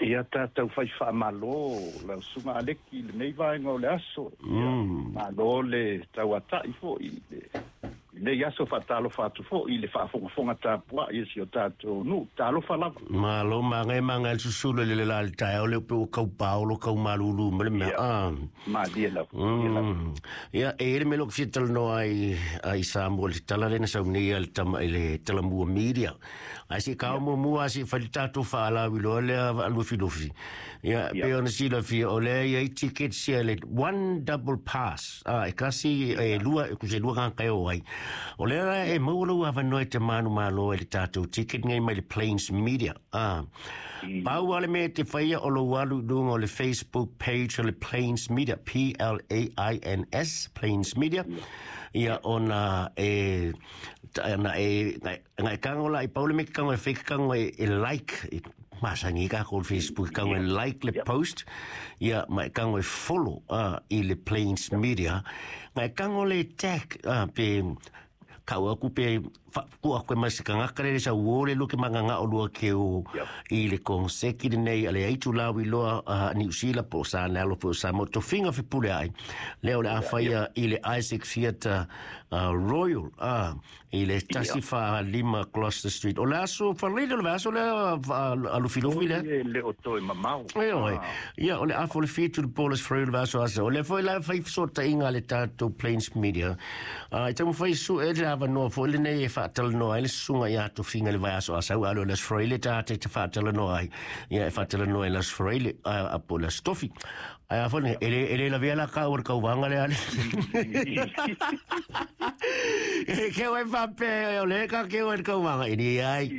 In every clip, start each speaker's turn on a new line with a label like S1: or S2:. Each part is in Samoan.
S1: Ia tatou fai faamalo lau susuga Aleki i lenei vaega o le aso. Ia malo le tauata'i fo'i i lenei aso. Faatalofa atu fo'i i le faafogafoga tapua'i a si o tatou nu'u. Talofa lava.
S2: Malo maga e maga le susulu le le la le taeao le upe ua kau paolo kau malulu ma le mea.
S1: Ia. Malie lava, malie lava.
S2: Ia, e i ai le mea lea ou te fia talanoa ai i Samoa i le tala lea na sau nei a le tama i le Talamua Media. Ae se i kao muamua lava se i fai le tatou faalauiloa lea Lufilufi. Ia, e pei ona silafia, o lea e i ai tickets ia le one double pass, a, e kasi, e lua, e tusa e lua tagata e o ai. O lea la e maua lou avanoa e te manumalo ai i le tatou ticket nei mai le Plains Media. A, pau lava le mea e te faia o lou alu i luga o le Facebook page o le Plains Media, Plains, Plains Media, ia ona e, na e, na e kago la i pau le mea ke kago e fai ke kago e like, e masani ai kākou i le Facebook, e kago e like le post, ia ma e kago e follow i le Plains Media, na e kago le tag, pe kau aku pe ku aku e mai se kangaka le sa uo le luke manganga o lua ke o i le konseki lenei a le aitu lau iloa Niu Sila po o sa le alo po o sa mo tofiga fepule ai lea o le a faia i le Isaac Theatre Royal i le 145 Gloucester Street. O le aso Faleile o le vaiaso lea a Lufilufi lea.
S1: E le o toe mamao.
S2: E oe. Ia, o le afa o le 7 le po o le aso Faraile o le vaiaso asa. O lea foi la e fai fesootaiga a le tatou Plains Media. E taumafai sue le avanoa foi lenei e faatalanoa ai le susuga ia Tofiga i le vaiaso asa aua o le aso Faraile ta te faatalanoa ai. Ia e faatalanoa i le aso Faraile po o le aso Tofi. Ae a foi e le lavea la kāua i le kauvaga lea ale. E ke oe faapea o lea ka ke oe i le kauvaga, e leai.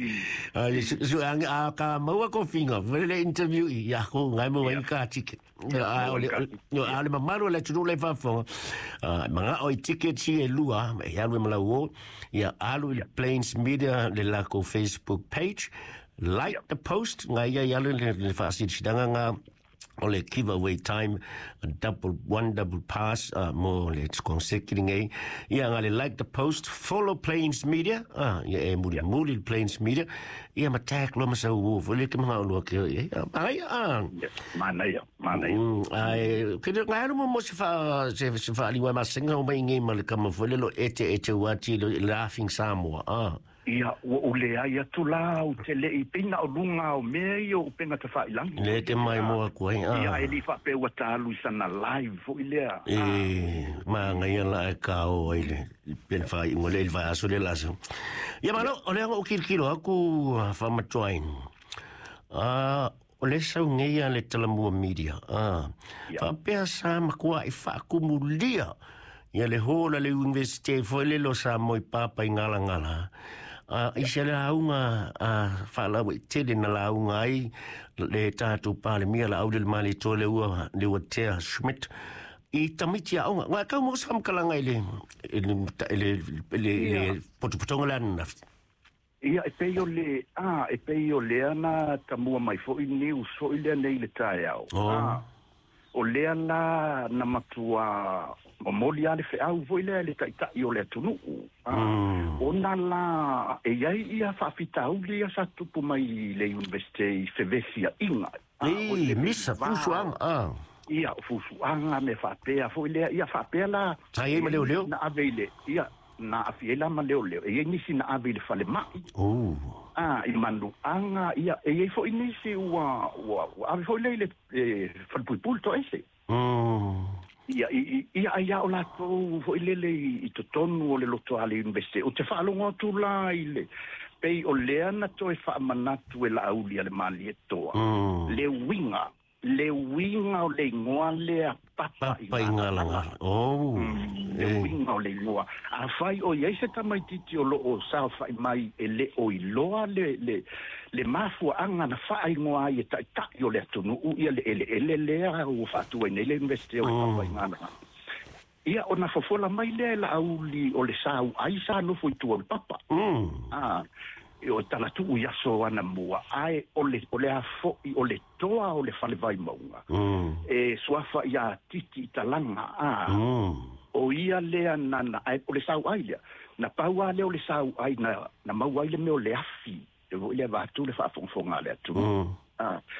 S2: Su ange a ka maua kofiga, foi le interview i ia ko ngai mo ai ka ticket. A o le a le mamalu o le atunuu la e faafofoga, mana'o i tickets ia e lua, e alu e ma lau o, ia alu i le Plains Media le lakou Facebook page, like the post, ngai ia i alu le faasilasilaga nga o le giveaway time double one double pass mo le konseki lenei. Ia nga le like the post, follow Plains Media, ia e muli muli le Plains Media, ia ma tag loa ma sau o foi le ke mga o lua ke e ai a.
S1: Manaia, manaia.
S2: Ai ke le ngai mo mo se fa se fa liwa ma senga o mai ngi ma le kama foi le lo ete ete wati le Laughing Samoa.
S1: Ia, ua ou leai atu la, ou te le i pei na o luga o mea ia o upega tafailangi.
S2: Lea te maimoa atu ai,
S1: a. Ia, e le i faapea ua ta alu i sana live foi lea,
S2: a. E, manaia la e kao ai le pe le faaiuga lea i le vaiaso lea la aso. Ia, malo, o lea na ou kilokilo atu faamatuaina. A, o lea sau nei a le Talamua Media, a. Faapea sa matuai faakumulia ia le hall a le Universite foi lele o Samoa i Papaigalagala, a i se lauga a faalauaitele na lauga ai le tatou Palemia Laaulialemalietoa le ua Leuatea Schmidt i tamaiti aoga. Ua tau maua se faamatalaga i le i le i le i le, i le potopotoga lea ananafi.
S1: Ia, e pei o le, a, e pei o lea na tamua mai foi news foi lea nei i le taeao.
S2: Oh.
S1: A, o lea la na matua momoli lava le feau foi lea i le Taitai o le atunuu. A, ona la e i ai ia faafitauli ia sa tupu mai i le Universite i fevesiaiga. A, o
S2: Ei,
S1: le
S2: misa,
S1: va
S2: fusuaga, a.
S1: Ia, o fusuaga, mea faapea foi lea, ia faapea la.
S2: Sa i ai ma leoleo?
S1: Na ave i le, ia, Na aafia ai la ma leoleo, e i ai nisi na ave i le falemai, a, i manuaga, ia, e i ai foi nisi ua, ua, ua ave foi lea i le e, falepuipui le toaese. Ia, i, i, ia, ai lava o latou foi lele i, i totonu o le lotoa a le Universite. Ou te faalogo atu la i le, pei o lea na toe faamanatu e Laauli a le Malietoa, le uiga Le uiga o le igoa lea Papa i Galagala.
S2: Oh,
S1: Le uiga o le igoa. Afai o i ai se tamaitiiti o lo o saofai mai e le o iloa le, le, le mafuaaga na faaigoa ai e taitai o le atunuu ia le eleele lea ua faatu ai nei le Iunivesite o le Papa i Galagala. Ia, ona fofola mai lea e Laauli o le sauai sa nofo i tua o le papa. A, o Talatuu i aso anamua, ae o le, o le a foi o le toa o le fale Vaimauga, e suafa ia Titi i Talaga, a, o ia lea na, na, ae o le sauai lea, na pau lava lea o le sauai na, na maua ai le mea o le afi, e foi lea vaeatu le faafogafoga a le atunuu. A.